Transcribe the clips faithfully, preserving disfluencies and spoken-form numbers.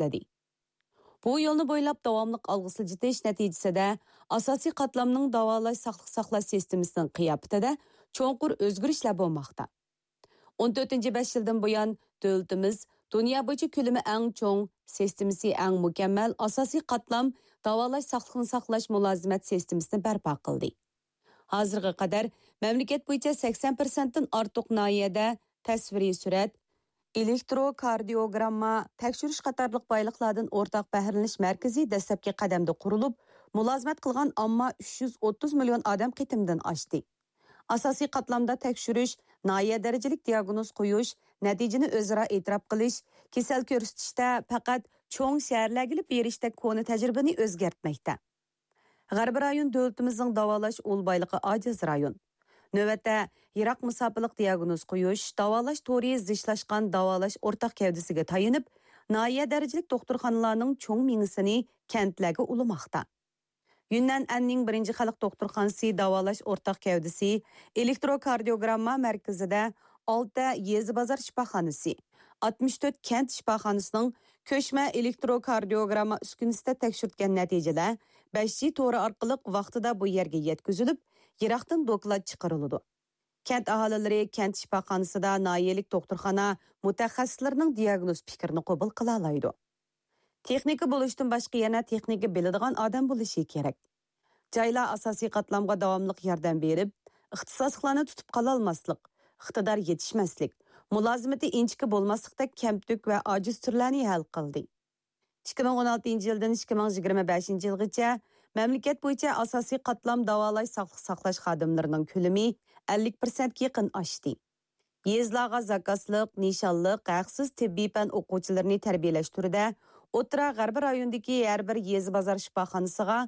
تەكىتلىدى. بۇ يولنى بويلاپ داۋاملىق ئالغا سىلجىتىش نەتىجىسىدە، ئاساسىي قاتلامنىڭ داۋالاش، ساقلىق ساقلاش سىستېمىسىنىڭ قىياپىتىدە چوڭقۇر ئۆزگىرىشلەر بولماقتا. ئون تۆتىنچى بەش يىلدىن بۇيان، دۆلىتىمىز دۇنيا بويىچە كۆلىمى ئەڭ چوڭ، سىستېمىسى ئەڭ مۇكەممەل ئاساسىي قاتلام داۋالاش، ساقلىقنى ساقلاش مۇلازىمەت سىستېمىسىنى بەرپا قىلدى. ھازىرغا قەدەر مەملىكەت بويىچە سەكسەن پىرسەنتتىن ئارتۇق ناھىيەدە تەسۋىرىي سۈرەت، ئېلېكتروكاردىيوگرامما تەكشۈرۈش قاتارلىق بايلىقلاردىن ئورتاق بەھرىلىنىش مەركىزى دەسلەپكى قەدەمدە قۇرۇلۇپ، مۇلازىمەت قىلغان ئامما ئۈچ يۈز ئوتتۇز مىليون ئادەم قېتىمدىن ئاشتى. ئاساسىي قاتلامدا تەكشۈرۈش، ناھىيە دەرىجىلىك دىياگنوز قويۇش، نەتىجىنى ئۆزئارا ئېتىراپ قىلىش، كېسەل كۆرسىتىشتە پەقەت چوڭ شەھەرلەرگىلا بېرىشتەك كونا تەجرىبىنى ئۆزگەرتمەكتە. غەربىي رايون دۆلىتىمىزنىڭ داۋالاش ئۇل بايلىقى ئاجىز رايون. نۆۋەتتە، يىراق مۇساپىلىق دىياگنوز قويۇش، داۋالاش تورى زىچلاشقان داۋالاش ئورتاق گەۋدىسىگە تايىنىپ، ناھىيە دەرىجىلىك دوختۇرخانىلارنىڭ چوڭ مېڭىسىنى كەنتلەرگە ئۇلىماقتا. يۈننەن ئەننىڭ بىرىنچى خەلق دوختۇرخانىسى داۋالاش ئورتاق گەۋدىسى ئېلېكتروكاردىيوگرامما مەركىزىدە ئالتە يېزا بازار شىپاخانىسى، ئاتمىش تۆت كەنت شىپاخانىسىنىڭ كۆچمە ئېلېكتروكاردىيوگرامما ئۈسكۈنىسىدە تەكشۈرتكەن نەتىجىلەر بەش جى تورى ئارقىلىق ۋاقتىدا بۇ يەرگە يەتكۈزۈلۈپ، يىراقتىن دوكلات چىقىرىلىدۇ. كەنت ئاھالىلىرى كەنت شىپاخانىسىدا ناھىيەلىك دوختۇرخانا مۇتەخەسسىسلىرىنىڭ دىياگنوز پىكرىنى قوبۇل قىلالايدۇ. تېخنىكا بولۇشتىن باشقا يەنە تېخنىكا بىلىدىغان ئادەم بولۇشى كېرەك. جايلار ئاساسىي قاتلامغا داۋاملىق ياردەم بېرىپ، ئىختىساسلىقلارنى تۇتۇپ قالالماسلىق، ئىقتىدار يېتىشمەسلىك، مۇلازىمىتى ئىنچىكە بولماسلىقتەك كەمتۈك ۋە ئاجىز تۈرلەرنى ھەل قىلدى. ئىككى مىڭ ئون ئالتىنچى يىلدىن ئىككى مىڭ يىگىرمە بەشىنچى يىلغىچە مەملىكەت بويىچە ئاساسىي قاتلام داۋالاش، ساقلىق ساقلاش خادىملىرىنىڭ كۆلىمى ئەللىك پىرسەنتكە يېقىن ئاشتى. يېزىلارغا زاكازلىق، نىشانلىق، ھەقسىز تېببىي پەن ئوقۇغۇچىلىرىنى تەربىيەلەش تۈرىدە ئوتتۇرا غەربىي رايوندىكى ھەر بىر يېزا بازار شىپاخانىسىغا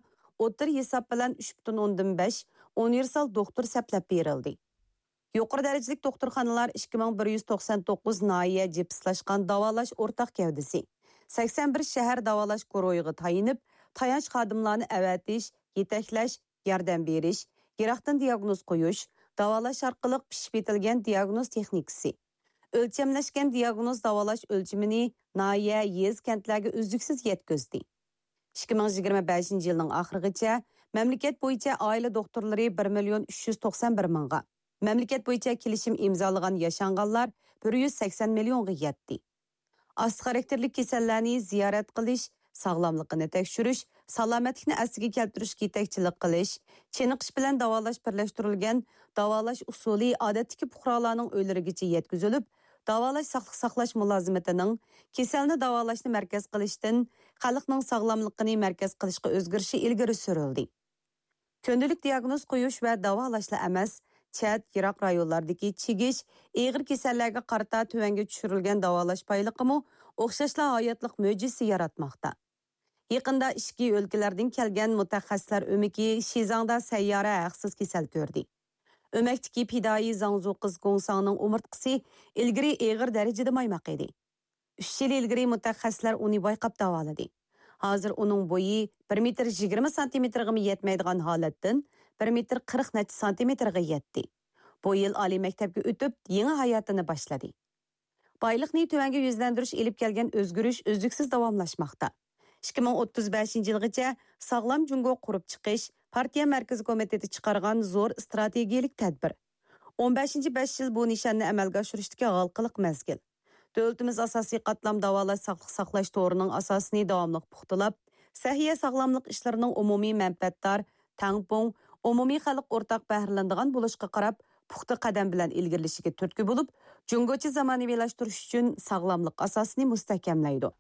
ئوتتۇرا ھېساب بىلەن ئۈچ پۈتۈن ئوندىن بەش ئۇنىۋېرسال دوختۇر سەپلەپ بېرىلدى. يۇقىرى دەرىجىلىك دوختۇرخانىلار ئىككى مىڭ بىر يۈز توقسان توققۇز ناھىيە جىپسلاشقان داۋالاش ئورتاق گەۋدىسى، سەكسەن بىر شەھەر داۋالاش گۇرۇھىغا تايىنىپ، تايانچ خادىملارنى ئەۋەتىش، يېتەكلەش، ياردەم بېرىش، يىراقتىن دىياگنوز قويۇش، داۋالاش ئارقىلىق پىشىپ يېتىلگەن دىياگنوز تېخنىكىسى، ئۆلچەملەشكەن دىياگنوز داۋالاش ئۆلچىمىنى ناھىيە، يېزا، كەنتلەرگە ئۈزلۈكسىز يەتكۈزدى. ئىككى مىڭ يىگىرمە بەشىنچى يىلنىڭ ئاخىرىغىچە مەملىكەت بويىچە ئائىلە دوختۇرلىرى بىر مىليون ئۈچ يۈز توقسان بىر مىڭغا، مەملىكەت بويىچە كېلىشىم ئىمزالىغان ياشانغانلار بىر يۈز سەكسەن مىليونغا يەتتى. ئاستا خاراكتېرلىك كېسەللەرنى زىيارەت قىلىش، ساغلاملىقىنى تەكشۈرۈش، سالامەتلىكنى ئەسلىگە كەلتۈرۈشكە يېتەكچىلىك قىلىش، چېنىقىش بىلەن داۋالاش بىرلەشتۈرۈلگەن داۋالاش ئۇسۇلى ئادەتتىكى پۇقرالارنىڭ ئۆيلىرىگىچە يەتكۈزۈلۈپ، داۋالاش ساقلىق ساقلاش مۇلازىمىتىنىڭ كېسەلنى داۋالاشنى مەركەز قىلىشتىن خەلقنىڭ ساغلاملىقىنى مەركەز قىلىشقا ئۆزگىرىشى ئىلگىرى سۈرۈلدى. كۈندىلىك دىياگنوز قويۇش ۋە داۋالاشلا ئەمەس، چەت، يىراق رايونلاردىكى چىگىش، ئېغىر كېسەللەرگە قارىتا تۆۋەنگە چۈشۈرۈلگەن داۋالاش بايلىقىمۇ ئوخشاشلا ھاياتلىق مۆجىزىسى ياراتماقتا. يېقىندا ئىچكى ئۆلكىلەردىن كەلگەن مۇتەخەسسىسلەر ئۆمىكى شىزاڭدا سەييارە ھەقسىز كېسەل كۆردى. ئۆمەكتىكى پىدائىي زاڭزۇ قىز گوڭساڭنىڭ ئومۇرتقىسى ئىلگىرى ئېغىر دەرىجىدە مايماق ئىدى. ئۈچ يىل ئىلگىرى مۇتەخەسسىسلەر ئۇنى بايقاپ داۋالىدى. ھازىر ئۇنىڭ بويى بىر مېتىر يىگىرمە سانتىمېتىرغىمۇ يەتمەيدىغان ھالەتتىن بىر مېتىر قىرىق نەچچە سانتىمېتىرغا يەتتى. بۇ يىل ئالىي مەكتەپكە ئۆتۈپ، يېڭى ھاياتىنى باشلىدى. بايلىقنى تۆۋەنگە يۈزلەندۈرۈش ئېلىپ كەلگەن ئۆزگىرىش ئۈزلۈكسىز داۋاملاشماقتا. ئىككى مىڭ ئوتتۇز بەشىنچى يىلغىچە ساغلام جۇڭگو قۇرۇپ چىقىش، پارتىيە مەركىزىي كومىتېتى چىقارغان زور ئىستراتېگىيەلىك تەدبىر. ئون بەشىنچى بەش يىل بۇ نىشاننى ئەمەلگە ئاشۇرۇشتىكى ھالقىلىق مەزگىل. دۆلىتىمىز ئاساسىي قاتلام داۋالاش، ساقلىق ساقلاش تورىنىڭ ئاساسىنى داۋاملىق پۇختىلاپ، سەھىيە ساغلاملىق ئىشلىرىنىڭ ئومۇمىي مەنپەئەتدار، تەڭپۇڭ، ئومۇمىي خەلق ئورتاق بەھرىلىنىدىغان بولۇشىغا قاراپ، پۇختا قەدەم بىلەن ئىلگىرىلىشىگە تۈرتكە بولۇپ، جۇڭگوچە زامانىۋىلاشتۇرۇش ئۈچۈن ساغلاملىق ئاساسىنى مۇستەھكەملەيدۇ.